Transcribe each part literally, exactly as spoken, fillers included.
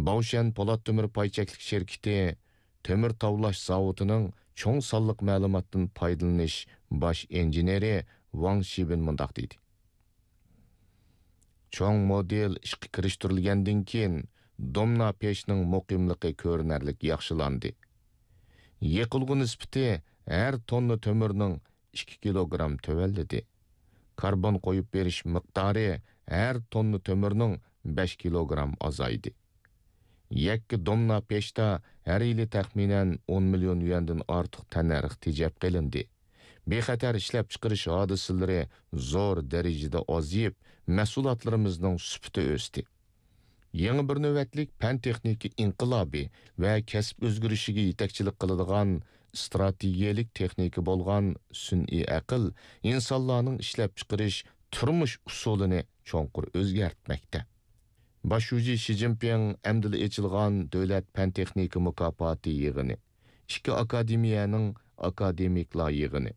باۋشەن پولات تۆمۈر پاي چەكلىك شىركىتى تۆمۈر تاۋلاش زاۋۇتىنىڭ چوڭ سانلىق مەلۇماتتىن پايدىلىنىش باش ئىنژېنېرى ۋاڭ شىبىن مۇنداق دېدى: چوڭ مودېل ئىشقا كىرىشتۈرۈلگەندىن كېيىن، دومنا پېشنىڭ مۇقىملىقى كۆرۈنەرلىك ياخشىلاندى. يېقىلغۇ نىسبىتى ھەر توننا تۆمۈرنىڭ ئىككى كىلوگرام تۆۋەنلىدى. كاربون قويۇپ بېرىش مىقدارى ھەر توننا تۆمۈرنىڭ بەش كىلوگرام ئازايدى. يەككە دومنا پېشتا ھەر يىلى تەخمىنەن ئون مىليون يۈەندىن ئارتۇق تەننەرخ تېجەپ قېلىندى. بىخەتەر ئىشلەپچىقىرىش ھادىسىلىرى زور دەرىجىدە ئازىيىپ، مەھسۇلاتلىرىمىزنىڭ سۈپىتى ئۆستى. يېڭى بىر نۆۋەتلىك پەن-تېخنىكا ئىنقىلابى ۋە كەسىپ ئۆزگىرىشىگە يېتەكچىلىك قىلىدىغان ئىستراتېگىيەلىك تېخنىكا بولغان سۈنئىي ئەقىل ئىنسانلارنىڭ ئىشلەپچىقىرىش، تۇرمۇش ئۇسۇلىنى چوڭقۇر ئۆزگەرتمەكتە. باش شۇجى شى جىنپىڭ ئەمدىلا ئېچىلغان دۆلەت پەن-تېخنىكا مۇكاپاتى يىغىنى، ئىككى ئاكادېمىيەنىڭ ئاكادېمىكلار يىغىنى،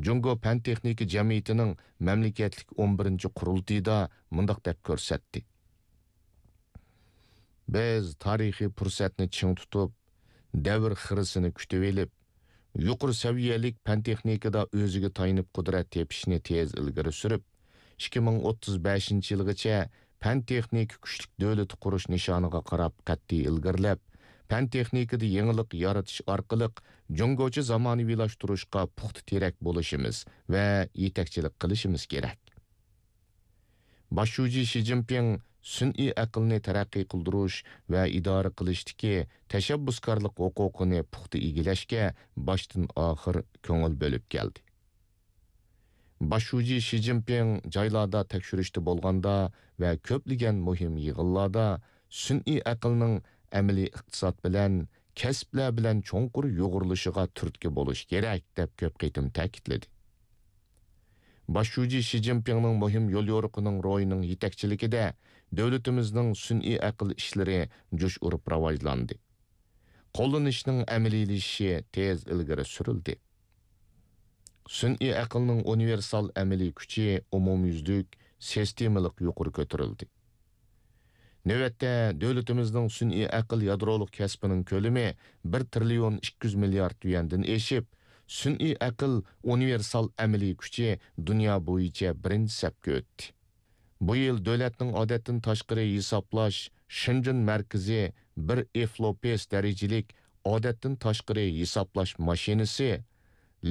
جۇڭگو پەن-تېخنىكا جەمئىيىتىنىڭ مەملىكەتلىك ئون بىرىنچى قۇرۇلتىيىدا مۇنداق دەپ كۆرسەتتى: بىز تارىخىي پۇرسەتنى چىڭ تۇتۇپ، دەۋر خىرىسىنى كۈتۈۋېلىپ، يۇقىرى سەۋىيەلىك پەن-تېخنىكىدا ئۆزىگە تايىنىپ قۇدرەت تېپىشنى تېز ئىلگىرى سۈرۈپ، ئىككى مىڭ ئوتتۇز بەشىنچى يىلغىچە پەن-تېخنىكا كۈچلۈك دۆلىتى قۇرۇش نىشانىغا قاراپ قەتئىي ئىلگىرىلەپ، پەن-تېخنىكىدا يېڭىلىق يارىتىش ئارقىلىق جۇڭگوچە زامانىۋىلاشتۇرۇشقا پۇختا تىرەك بولۇشىمىز ۋە يېتەكچىلىك قىلىشىمىز كېرەك. باش شۇجى شى جىنپىڭ سۈنئىي ئەقىلنى تەرەققىي قىلدۇرۇش ۋە ئىدارە قىلىشتىكى تەشەببۇسكارلىق ھوقۇقىنى پۇختا ئىگىلەشكە باشتىن-ئاخىر كۆڭۈل بۆلۈپ كەلدى. باش شۇجى شى جىنپىڭ جايلاردا تەكشۈرۈشتە بولغاندا ۋە كۆپلىگەن مۇھىم يىغىنلاردا سۈنئىي ئەقىلنىڭ ئەمەلىي ئىقتىساد بىلەن، كەسىپلەر بىلەن چوڭقۇر يۇغۇرۇلۇشىغا تۈرتكە بولۇش كېرەك، دەپ كۆپ قېتىم تەكىتلىدى. باش شۇجى شى جىنپىڭنىڭ مۇھىم يوليورۇقىنىڭ روھىنىڭ يېتەكچىلىكىدە دۆلىتىمىزنىڭ سۈنئىي ئەقىل ئىشلىرى جۇش ئۇرۇپ راۋاجلاندى. قوللىنىشنىڭ ئەمەلىيلىشىشى تېز ئىلگىرى سۈرۈلدى. سۈنئىي ئەقىلنىڭ ئۇنىۋېرسال ئەمەلىي كۈچى ئومۇميۈزلۈك، سىستېمىلىق يۇقىرى كۆتۈرۈلدى. نۆۋەتتە، دۆلىتىمىزنىڭ سۈنئىي ئەقىل يادرولۇق كەسپىنىڭ كۆلىمى بىر تىرىليون ئىككى يۈز مىليارد يۈەندىن ئېشىپ، سۈنئىي ئەقىل ئۇنىۋېرسال ئەمەلىي كۈچى دۇنيا بويىچە بىرىنچى سەپكە ئۆتتى. بۇ يىل دۆلەتنىڭ ئادەتتىن تاشقىرى ھېسابلاش شېنجېن مەركىزى بىر ئېفلوپېس دەرىجىلىك ئادەتتىن تاشقىرى ھېسابلاش ماشىنىسى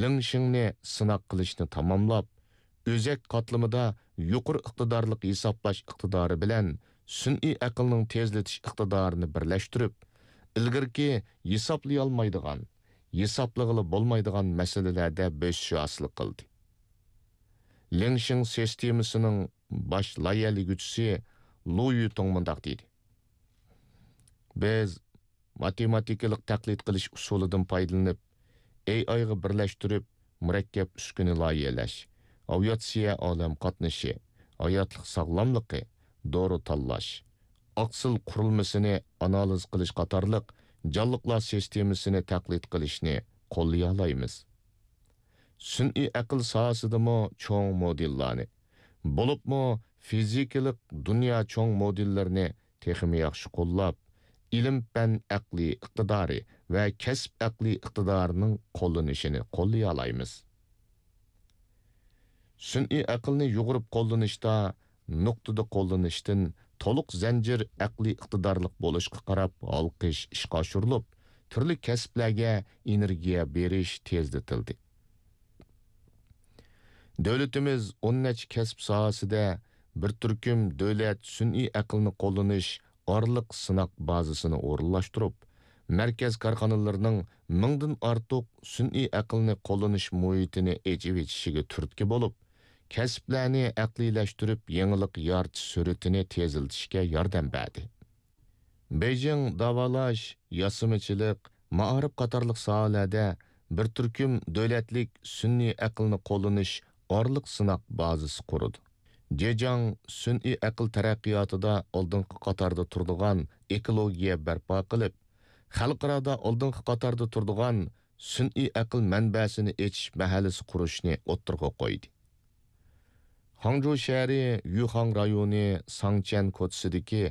لىڭشىڭنى سىناق قىلىشنى تاماملاپ، ئۆزەك قاتلىمىدا يۇقىرى ئىقتىدارلىق ھېسابلاش ئىقتىدارى بىلەن سۈنئىي ئەقىلنىڭ تېزلىتىش ئىقتىدارىنى بىرلەشتۈرۈپ، ئىلگىرىكى ھېسابلىيالمايدىغان، ھېسابلىغىلى بولمايدىغان مەسىلىلەردە بۆسۈش ھاسىل قىلدى. لىڭشىڭ سىستېمىسىنىڭ باش لايىھەلىگۈچىسى لۇ يۈتۇڭ مۇنداق دېدى: بىز ماتېماتىكىلىق تەقلىد قىلىش ئۇسۇلىدىن پايدىلىنىپ، ئېي ئايغا بىرلەشتۈرۈپ، مۇرەككەپ ئۈسكۈنە لايىھەلەش، ئاۋىئاتسىيە ئالەم قاتنىشى، ھاياتلىق ساغلاملىقى، دورا تاللاش، ئاقسىل قۇرۇلمىسىنى ئانالىز قىلىش قاتارلىق جانلىقلار سىستېمىسىنى تەقلىد قىلىشنى قوللىيالايمىز. سۈنئىي ئەقىل ساھەسىدىمۇ چوڭ مودېللارنى، بولۇپمۇ فىزىكىلىق دۇنيا چوڭ مودېللىرىنى تېخىمۇ ياخشى قوللاپ، ئىلىم-پەن ئەقلىي ئىقتىدارى ۋە كەسىپ ئەقلىي ئىقتىدارىنىڭ قوللىنىشىنى قوللىيالايمىز. سۈنئىي ئەقىلنى يۇغۇرۇپ قوللىنىشتا نۇقتىدا قوللىنىشتىن تولۇق زەنجىر ئەقلىي ئىقتىدارلىق بولۇشقا قاراپ ھالقىش ئىشقا ئاشۇرۇلۇپ، تۈرلۈك كەسىپلەرگە ئېنېرگىيە بېرىش تېزلىتىلدى. دۆلىتىمىز ئون نەچچە كەسىپ ساھەسىدە بىر تۈركۈم دۆلەت سۈنئىي ئەقىلنى قوللىنىش ئارىلىق سىناق بازىسىنى ئورۇنلاشتۇرۇپ، مەركەز كارخانىلىرىنىڭ مىڭدىن ئارتۇق سۈنئىي ئەقىلنى قوللىنىش مۇھىتىنى ئېچىۋېتىشىگە تۈرتكە بولۇپ، كەسىپلەرنى ئەقلىيلەشتۈرۈپ، يېڭىلىق يارىتىش سۈرئىتىنى تېزلىتىشكە ياردەم بەردى. بېيجىڭ داۋالاش، ياسىمىچىلىق، مائارىپ قاتارلىق ساھەلەردە بىر تۈركۈم دۆلەتلىك سۈنئىي ئەقىلنى قوللىنىش ئارىلىق سىناق بازىسى قۇرىدۇ. جېجياڭ سۈنئىي ئەقىل تەرەققىياتىدا ئالدىنقى قاتاردا تۇرىدىغان ئېكولوگىيە بەرپا قىلىپ، خەلقئارادا ئالدىنقى قاتاردا تۇرىدىغان سۈنئىي ئەقىل مەنبەسىنى ئېچىش مەھەللىسى قۇرۇشنى ئوتتۇرىغا قويدى. خاڭجۇ شەھىرى يۈخاڭ رايونى ساڭچيەن كوچىسىدىكى